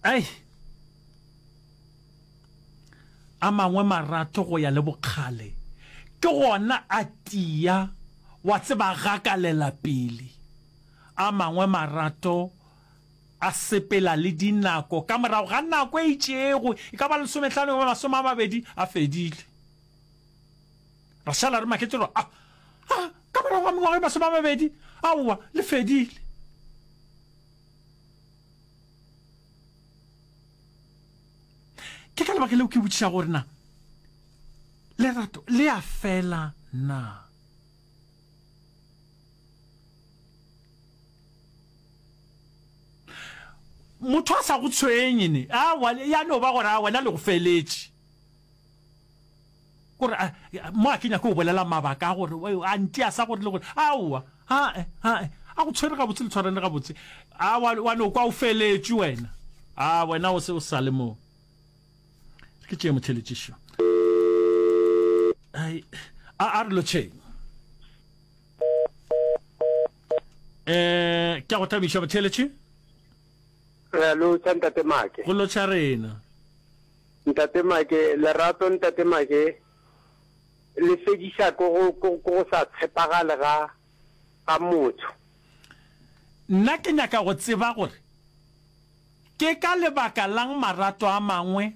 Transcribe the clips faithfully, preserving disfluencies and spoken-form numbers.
Ai. A mangwe marato go ya le bokgale ke gona a tia wa tseba gakalela pele. A mangwe marato a sepela le dinako ka morago ga nako e itšego, e ka ba lesomehlano goba masome a mabedi, a fedile. Ra šala re maketše gore, a, a, ka morago ga mengwaga e masome a mabedi, aowa, le fedile. Ke ka lebaka leo ke botšiša gore na lerato le a fela na? Motho a sa go tshwenye ne, aowa, ya no ba gore a wena le go feletše. Kore mo a ke nyake go bolela mabaka a gore a ntia sa gore le gore aowa, ae, ae, a go tshwere gabotse le tshwarane gabotse, a wa, wa no kwa o feletšwe wena, a wena o se o sa le mo. Ke tšee motheletšišo. Ai, a, a re lotšheng. Eh, ke a go thabiša motheletši. Re a lotšha Ntate Make. Go lotšha rena. Ntate Make, lerato Ntate Make le fediša ke go, ke, ke go sa tshepagale ga, ga motho. Nna ke nyaka go tseba gore ke ka lebaka la'ng marato a mangwe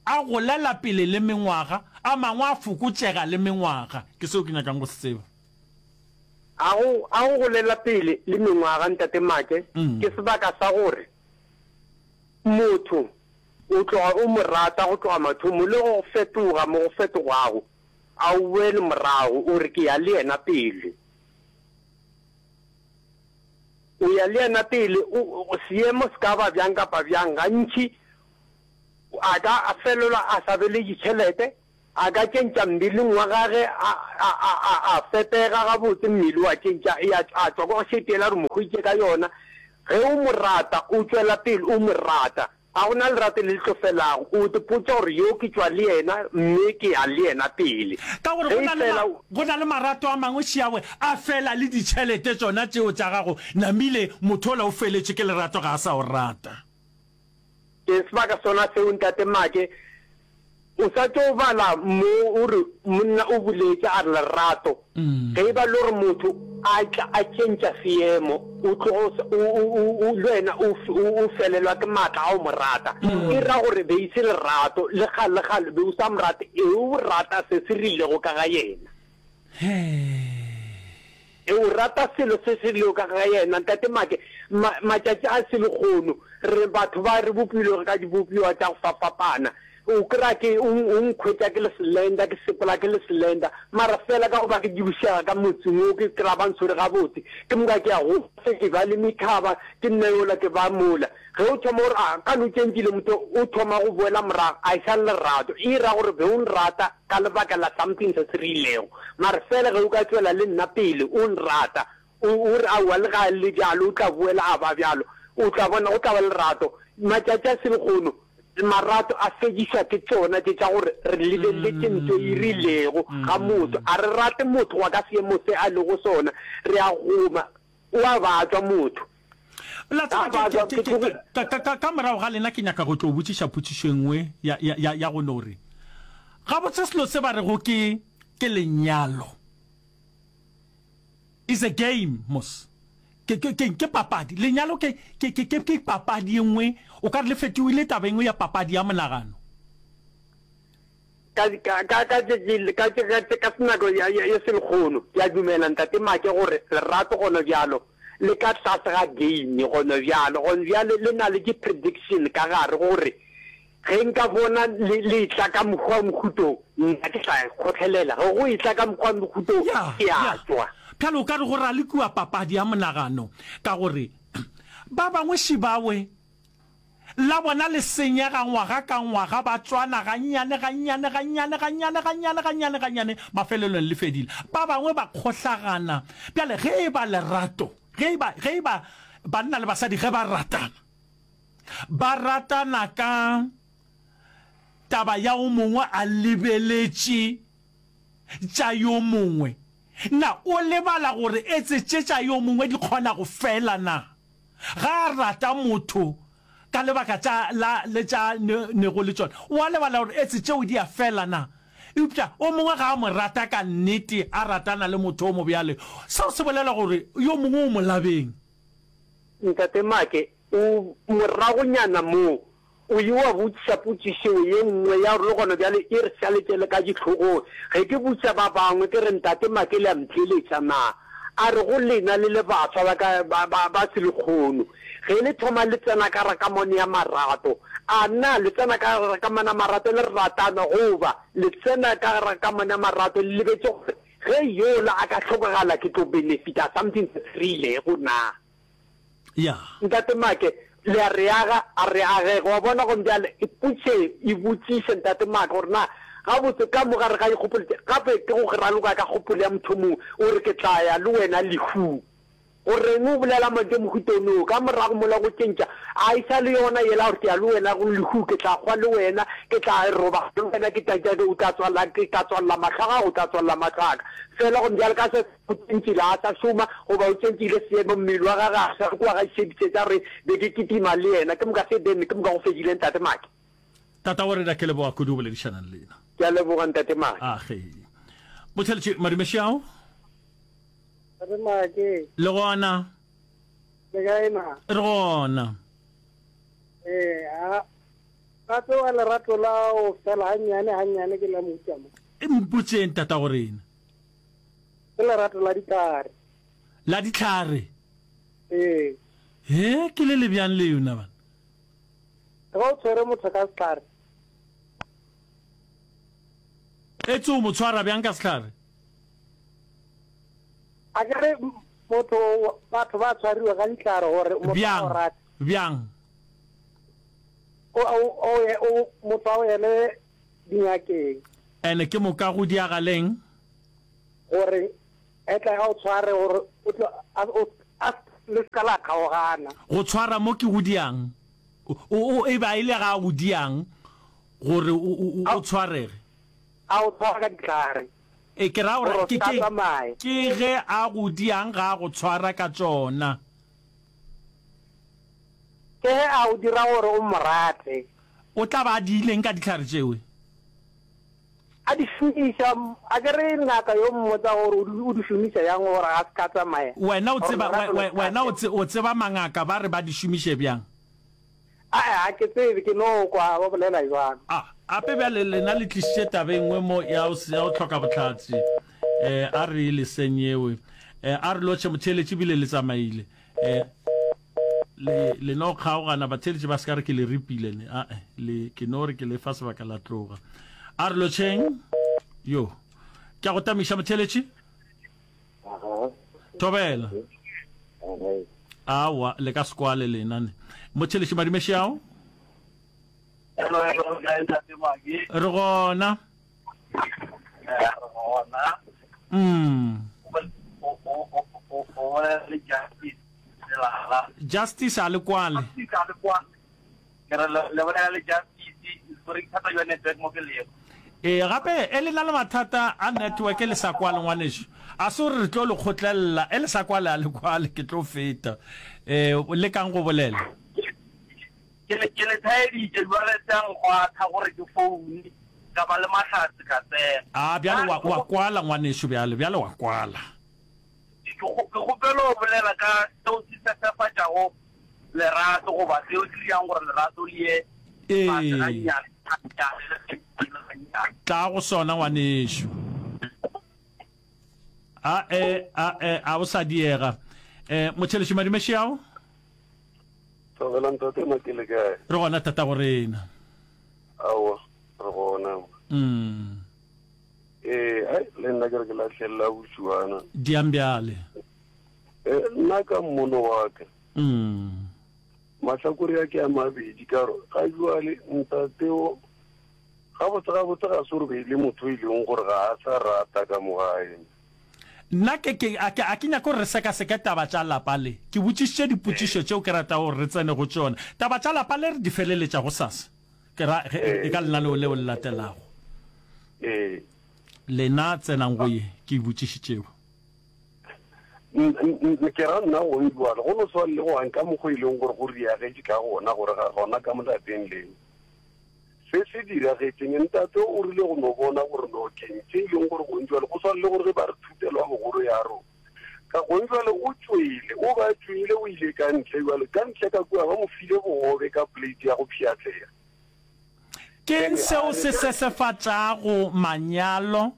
a golela pele le mengwaga, a mangwe a fokotšega le mengwaga. Ke seo ke nyakang go se tseba. A go, a go golela pele le mengwaga, Ntate Make, ke sebaka sa gore motho o tloga o mo rata go tloga mathomong, le go fetoga mo go fetogago, a o boele morago, o re, Ke ya le yena pele. O ya le yena pele, o, o, seemo se ka ba bjang kapa bjang, gantši a ka a felelwa a sa be le ditšhelete, a ka tšentša mmeleng wa gage, a, a, a, a, a fepega gabotse, mmele wa tšentša, ya, a tšwa kwa go šete yela re mo hweditše ka yona. Ge o mo rata, o tšwela pele o mo rata. Ga go na lerato le le tlo felago. O ipotša gore yo ke tšwa le yena mme ke ya le yena pele. Ka gore Ge go na le fela ma, go na le marato a mangwe šiawe a fela le ditšhelete tšona tšeo tša gago namile motho ola o feletšwe ke lerato ga a sa o rata. Ke sebaka sona seo Ntate Make O sa tšo bala mo o re monna o boletše a re lerato ge e ba le gore motho a tla a tšentša seemo o tloga o, o, o, o, le wena o, o, o felelwa ke maatla a go mo rata. E ra gore be e se lerato le kgale le kgale be o sa mo rate e o rata se se rilego ka ga yena. E o rata selo se se rilego ka ga yena. Ntate Make, ma, matšatši a selehono, re batho ba re bopilwego ka dibopiwa tša go fapfapana. O kry-a ke, o, o nkhwetša ke le slender, ke sepela ke le slender, mara fela ka goba ke dubišega ka motseng wo, ke kry-a ba ntshwere gabotse, ke moka ke ya go se ke ba le methaba, ke nna yola ke ba mola. Ge o thoma gore, a ka no tšentšile motho, o thoma go boela morago, a e sa le lerato. E ra gore be o nrata ka lebaka la something se se rilego. Mara fela ge o ka tšwela le nna pele o nrata, o, o re aowa le ga le bjalo o tla boela a ba bjalo, o tla bona go tla ba lerato. Matšatši a selehono marato a fedišwa ke tšona tše tša gore re lebeletše ntho e rilego ga motho. A re rate motho wa ka seemo se a lego sona, re a goma, o a batšwa motho. La tseba, ke, ke, ke, ka, ka, ka, ka morago ga lena ke nyaka go tlo botšiša potšišo e nngwe ya, ya, ya, ya go no re, gabotse selo se ba rego ke, ke lenyalo is a game mos. Ke, ke, ke, ke papadi. Lenyalo ke, ke, ke, ke, ke papadi e nngwe, o ka re le fetogile taba e nngwe ya papadi ya monagano. Ka, ka, ka, ka tše, ka tše, ka tše, ka nako ya, ya, ya selehono, ke a dumela, Ntate Make, gore lerato gonabjalo le ka tlase ga game gonabjalo. Gonabjale le na le di-prediction ka gare, gore ge nka bona le, le etla ka mokgwa wa mohuto, nna ke tla kgotlelela. Ge go etla ka mokgwa wa mohuto, Ya, ke a ya. tšwa. Bjale o ka re go ralokiwa papadi ya monagano, ka gore ba bangwe šibawe La bona le senyega ngwaga ka ngwaga, ba tšwana gannyane, gannyane, gannyane, gannyane, gannyane, gannyane, gannyane, mafelelong le fedile. Ba bangwe ba kgohlagana. Bjale, ge e ba lerato, ge e ba, ge e ba banna le basadi ge ba ratana, ba ratana ka taba ya o mongwe a lebeletše tša yo mongwe, na o lebala gore etse tše tša yo mongwe di kgona go fela na? Ga a rata motho ka lebaka tša la le tša ne, nego le tšona. O a lebala gore etse tšeo di a fela na? Eupša o mongwe ga a mo rata ka nnete, a ratana le motho o mobjale, seo se bolela gore yo mongwe o molabeng. Ntate Make, o moragonyana mo, o ile wa botšiša potšišo ye nngwe ya gore le gona bjale e re šaletše le ka dihlogong. Ge ke botšiša ba bangwe ke re, Ntate Make le a ntheeletša na? A re go lena le le baswa ba ka ba, ba, ba selekgono, ge le thoma le tsena ka gare kamano ya marato, a na le tsena ka gare kamano ya marato le ratana goba le tsena ka gare kamano ya marato le lebetše gore ge yola a ka hlokagala ke tlo benefita something se se rilego na? Ya. Ntate Make, le a re aga, a re agege. Wa bona, gomme bjale ipotše, ibotšiše, Ntate Make, gore na gabotse ka mo gare ga dikgopolo tše, gape ke go raloka ka kgopolo ya motho mongwe, o re ke tla ya le wena lehung. Go reng o bolela mantšu a mohuta ono? Ka morago mola go tšentša, a e sa le yona yela gore ke ya le wena go lehu, ke tla hwa le wena, ke tla robala le wena, ke tla, o tla tswalela, ke tla tswalela mahlo a gago, o tla tswalela mahlo a ka. Fela gomme bjale ka se. O tšentšile a sa šoma, goba o tšentšile seemo, mmele wa gagwe a sa re kua ga šedišetša gore be ke kitima le yena, ke moka se then ke moka go fedile Ntate Make. Tata wa rena ke leboga kudu go boledišana le lena. Ke a leboga Ntate Make. Age. Motheletši Madumešiao. Ntate Make. Le gona. Le kae na? Re gona. Ee, a gape wa lerato la o fela gannyane gannyane ke la mohuta mo. Mpotseng tata go rena. Ke lerato la dihlare. La dihlare? Ee. He, ke le le bjang leo na bana? Ge o tshwere motho ka sehlare. Etse o mo tshwara bjang ka sehlare? A ke re motho, batho ba tshwariwa ka dihlare gore motho a o rate. Bjang? O, o, o, motho a o ele dingakeng. Ene ke moka go diagaleng? Gore a tle a o tshware, gore o tlo, a, o, a, le se ka la kgaogana. Go tshwara mo ke go diang? O, o, e ba e le ga o diang gore o, o, o, o tshwarege? A o tshwara ka dihlare. E, ke ra gore, Gore o ke, se ka ke, tsamaya. ke ge a go diang ga a go tshwara ka tšona. Ke ge a o dira gore o mo rate. O tla ba a diileng ka dihlare tšewe? A di šomiša, a ke re ngaka yo mmotsa gore o di, o di šomiša yang gore a se ka tsamaya, Wena o gore tseba, we, lerato le we, se ka wena o fela. tse, o tseba mangaka ba re ba di šomiše bjang? Ae, ga ke tsebe, ke no kwa ba bolela bjalo. A, ape bjale lena le tlišitše taba e nngwe mo ya go, ya go hloka bohlatse. Eh, a re e leseng yeo. Eh, a re lotšhe motheeletši ebile le tsamaile. Eh, le, le no kgaogana, batheeletši ba se ka re ke le ripile ne. Ae, le, ke no re ke le fa sebaka la tloga. A re lotšheng. Yo. Ke a go tamiša motheeletši. Thobela. Aowa, le ka se kwale lena ne. Motheeletši Madumeši ao. Hello, hello, kae ntate Maki? Re gona. Eh, re gona. Mm. O o o o o bolela le Justice Selala. Justice a le kwale. Justice a le kwale. Ke re le le bolela le Justice, sorry ke thata jwa network mo ke lego. Ee, gape e le na le mathata a network le sa kwale ngwanešu. A se gore re tlo le kgotlelela, e le sa kwale a le kwale, ke tlo feta. Eh, lekang go bolela. Ke le ke le thaeditše jwale tša nkgwatha gore ke foune ka ba le mahlatse ka tsena. A bjale wa wa kwala ngwanešu bjale, bjale wa kwala. Ke ke kgopela go bolela ka seo se sesefatšago lerato goba seo se dirang gore lerato le ye fase Ee. gannyane gannyane le gannyane gannyane. Tla go sona ngwanešu. A e a e a o sa diega. Eh Motšheletši Madumešiao. Thobela ntate Maki le kae? Re gona tatago rena. Aowa re gona. Mm. Ee, ai le nna ke re ke lahlelela bošuana. Diang bjale. Eh, nna ka mmono wa ka. Mm. Mahlakore a ke a mabedi ka gore ga jwale ntate o gabotse gabotse ga se gore be e le motho e leng gore ga a sa rata ka mo gae. Nna ke, ke, a ke, a ke nyake gore re sekaseke taba tša lapa le. Ke botšišitše dipotšišo tšeo ke ratago gore re tsene go tšona. Taba tša lapa le re di feleletša gosasa, ke ra, ge, e ka lenaneo leo le latelago. Ee. Lena tsenang go ye ke e botšišitšego. Ke ra nna gong bjale, go no swana le go ka mokgwa e leng gore go riagetše ka gona, gore ga gona ka mo lapeng leo. Se se diragetšeng, ntate o rile go no bona gore no keng tše e leng gore gong bjale, go swana le gore ge ba re thutelo ya bogolo ya rona. Ka gong bjale o tšwele, o ba tšwele, o ile ka ntle bjale, ka ntle ka kua ba mo file bogobe ka plate ya go pšhatlega. Ke'ng seo se sesefatšago manyalo,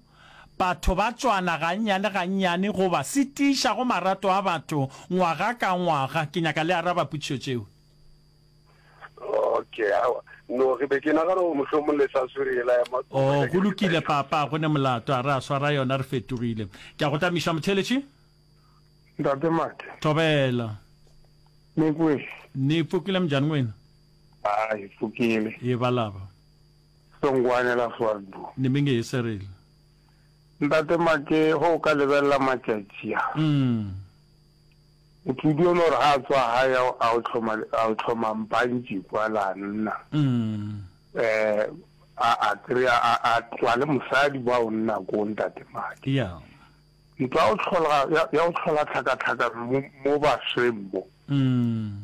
batho ba tšwana gannyane-gannyane goba se tiišago marato a batho ngwaga ka ngwaga? Ke nyaka le araba potšišo tšeo. Okay, aowa. No, ke be ke nagana gore mohlomong le sa swere yela ya matsogo. Oh, go lokile, Papa, go ne molato. A re a swara yona, re fetogile. Ke a go tamiša, motheeletši. Ntate Make. Thobela. Mekwe. Ni pfukile mnjani n'wina? A hi pfukile. Hi valava. Songwane la Swartboom. Ni mi nge hiserile. Ntate Make, ge o ka lebelela matšatši a. Mm. Motho o dio no re ga a tswa gae a o hloma a o hloma mpantši kwa la nna. Mm. Eh a a kry-a a a tloa le mosadi ba o nna ko Ntate Make. Yeah. Ntwa ya go hlola ya go hlola tlhakatlhakano mo mo basweng mo. Mm.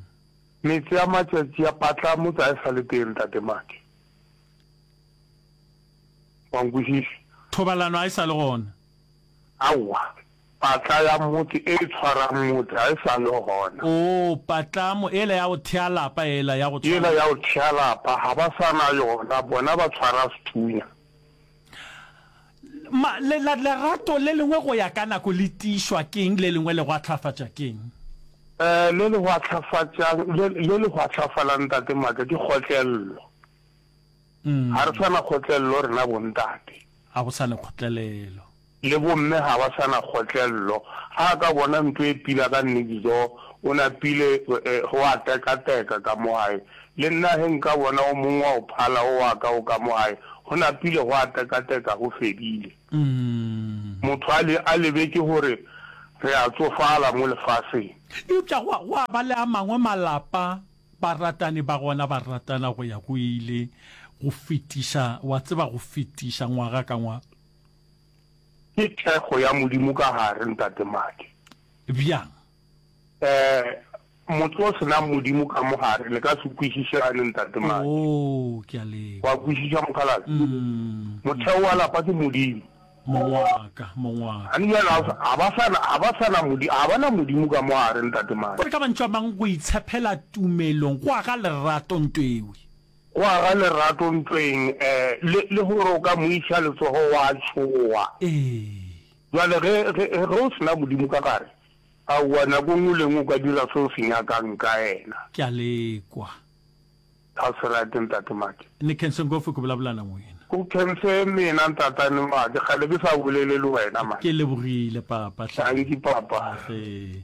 Metse ya matšatši a patla motse a e sa le teng Ntate Make. Wa nkwešiša? Thobalano a e sa le gona. Aowa, patla ya motse e tshwarang motse ga e sa le gona. Oo, patlamo ela ya go thea lapa ela ya go tshwara. Yela ya go thea lapa ga ba sa na yona, bona ba tshwara sethunya. Ma, le, la, lerato le lengwe go ya ka nako le tiišwa ke'ng, le lengwe le gwahlafatša ke'ng? Eh, le le gwahlafatšang, le, le le gwahlafalang Ntate Maaka ke kgotlello. Ga re sa na kgotlello rena bontate. Ga go sa na kgotlelelo. Le bomme ga ba sa na kgotlello. Ga a ka bona ntho e pila ka next door, o napile go a tekateka ka mo gae. Le nna ge nka bona o mongwe wa go phala o wa ka o ka mo gae, go napile go a tekateka go fedile. Motho a le a lebetše gore re a tsofala mo lefaseng. Eupša go a, go a ba le a mangwe malapa Baratani ba gona ba ratana go ya go ile, go fetiša, wa tseba, go fetiša ngwaga ka ngwaga. Ke thekgo ya Modimo ka gare, Ntate Make. Bjang? Eh, motse o se nang Modimo ka mo gare, le ka se kwešišane, Ntate Make. Oo, ke a lekwa. Wa kwešiša, mokgalabje? Mm. Motheo wa lapa ke Modimo. Mong wa ka, mong wa ka. Gane bjale ga ba sa na, ga ba sa na Modimo, ga ba na Modimo ka mo gare, Ntate Mane. Gore ka mantšu a mang, go itshepela tumelong go aga lerato ntwewi. Go aga lerato ntweng, eh, le, le gore o ka mo iša letsogo wa tšhoga. Ee. Bjale ge, ge, ge o se na Modimo ka gare, aowa, nako nngwe le nngwe o ka dira se o se nyakang ka yena. Ke a le kwa. That's right Ntate Make. Ni khense ngopfu ku vulavula na n'wina. Ku khense mina Ntatane Make, kgale ke sa bolele le wena man. Ke lebogile papa hle. Dankie papa. Age.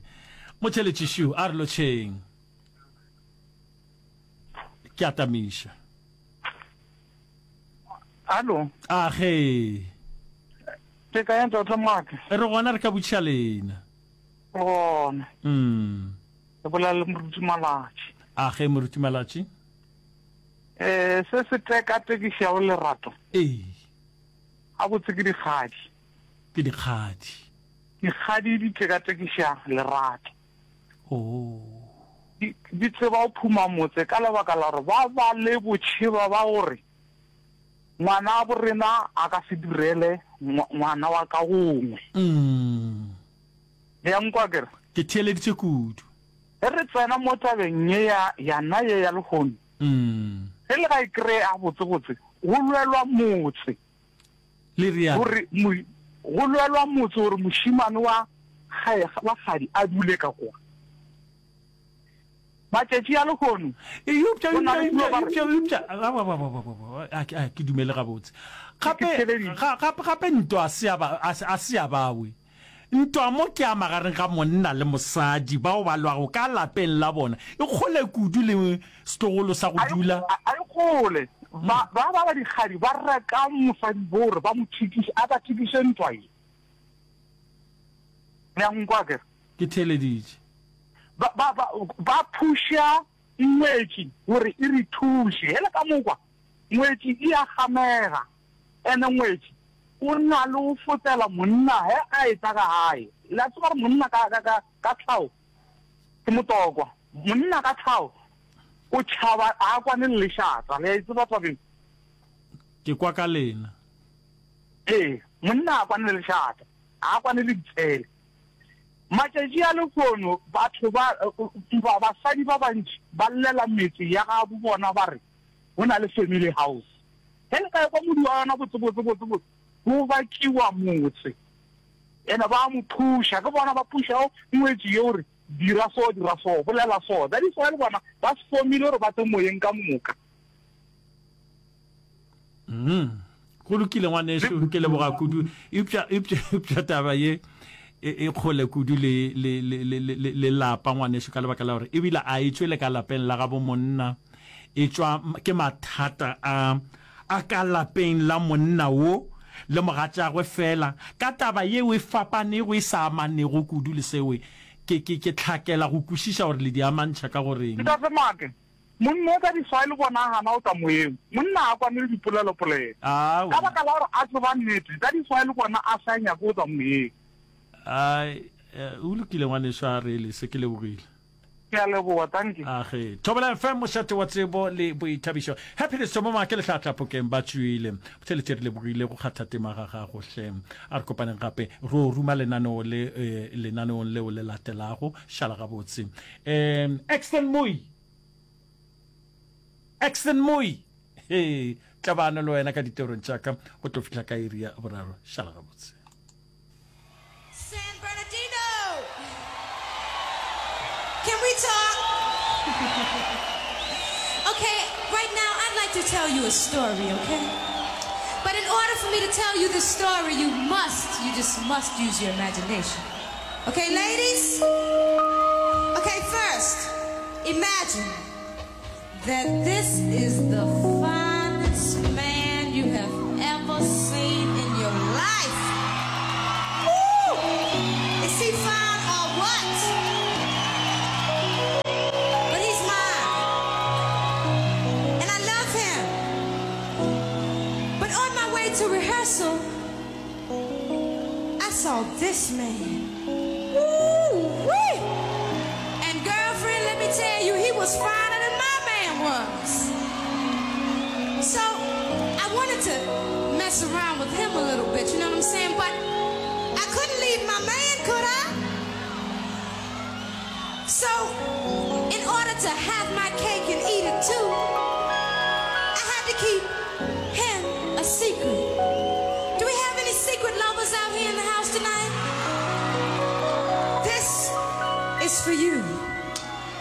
Motheletši Shu, a re lotšheng. Ke a tamiša. Hallo. Age. Ke kae Ntate Make? Re gona re ka botšiša lena. Re gona. Mm. Re bolela le Moruti Malatši. Age Moruti Malatši. Eh, se se tekatekišago lerato. Ee. Gabotse ke dikgadi. Ke dikgadi. Dikgadi di tekatekiša lerato. Oh. Di, di tseba go phuma motse ka lebaka la gore ba ba le botšheba ba gore ngwanabo rena a ka se direle ngwana wa ka gongwe. Mm. Le ya nkwa akere? Ke theeleditše kudu. Ge re tsena mo tabeng ye ya, yana ye ya lehono, ge le ga e kreye gabotsebotse, go lwelwa motse. Le realo? Gore mo, go lwelwa motse gore mošemane wa gae, wa kgadi a dule ka kwa. Matšatši a lehono, Eupša, go na le eupša, dilo ba re. eupša, eupša, aowa, aowa, aowa, aowa, a ke, a ke dumele gabotse. Ke, ke Gape, theeleditše. ga, gape, gape ntwa a se ya ba, a se, a se ya bawe. Ntwa mo ke ya magareng ga monna le mosadi bao ba lwago ka lapeng la bona. E kgole kudu le setlogolo sa go A e, dula. a e kgole. Ba, ba ba ba dikgadi ba reka mosadi bo gore ba mo thikiše, a ba thikiše ntwa ye. Le a nkwa akere? Ke theeleditše. Ba, ba, ba, ba phuša ngwetši gore e re thuše. Hele ka mokwa, ngwetši e a gamega. Ene ngwetši o na le go fotela monna ge a etla ka gae. Le a tseba gore monna ka, ka, ka, ka tlhago ke motokwa. Monna ka tlhago o tšhaba, a kwane le lešata. Le a e tseba taba ye? Ke kwa ka lena. Ee, monna a kwane le lešata, a kwane le ditshele. Matšatši a lehono batho ba, ba, basadi ba bantši ba llela metse ya gabo bona ba re go na le family house. Ge le ka ekwa modu wa yona botse, botse, botse, botse, go bakiwa motse. Ene ba a mo phuša, ke bona ba phušago ngwetši ye gore dira so, dira so, bolela so. That is why le bona ba fomile gore ba tle moyeng ka moka. Mm. Go lokile ngwanešu, ke leboga kudu. Eupša, eupša, eupša taba ye e, e kgole kudu le, le, le, le, le, le lapa ngwanešu, ka lebaka la gore ebile a e tšwele ka lapeng la gabo monna, e tšwa ke mathata a a ka lapeng la monna wo le mogatšagwe fela ka taba yeo e fapanego e sa amanego kudu le seo. Ke, ke, ke hlakela go kwešiša gore le di amantšha ka go reng. Ntate Make, monna o ka di swae le bona a gana go tla moyeng. Monna a kwane le dipolelopolelo. Ka baka la gore a tseba nnete, ka di swae le bona a sa nyake go tla moyeng. Ai, o lokile ngwaneso, a re lese, ke lebogile. Ke a leboga, dankie. Age. Thobela F M, mošate wa tsebo le boithabišo. Happiness Thomo Make le Hlahla Phokeng ba tšwile. Botheletše re lebogile go kgatha tema ga gago hle. A re kopaneng gape ro ruma lenaneo le, eh, lenaneong leo le latelago. Šala gabotse. Um, Exton Moi. Exton Moi. He, tlabano le wena ka ditorong tša ka go tlo fihla ka iri ya boraro. Šala gabotse. San Bernardino. Can we talk? Okay, right now I'd like to tell you a story, okay? But in order for me to tell you this story, you must, you just must use your imagination. Okay, ladies? Okay, first, imagine that this is the finest man you have ever seen in your life. Woo! Is he fine or what? But he's mine. And I love him. But on my way to rehearsal, I saw this man. Woo-wee! And girlfriend, let me tell you, he was finer than my man was. So I wanted to mess around with him a little bit, you know what I'm saying? But I couldn't leave my man, could I? So in order to have my cake and eat it too, I had to keep him a secret. Do we have any secret lovers out here in the house tonight? This is for you.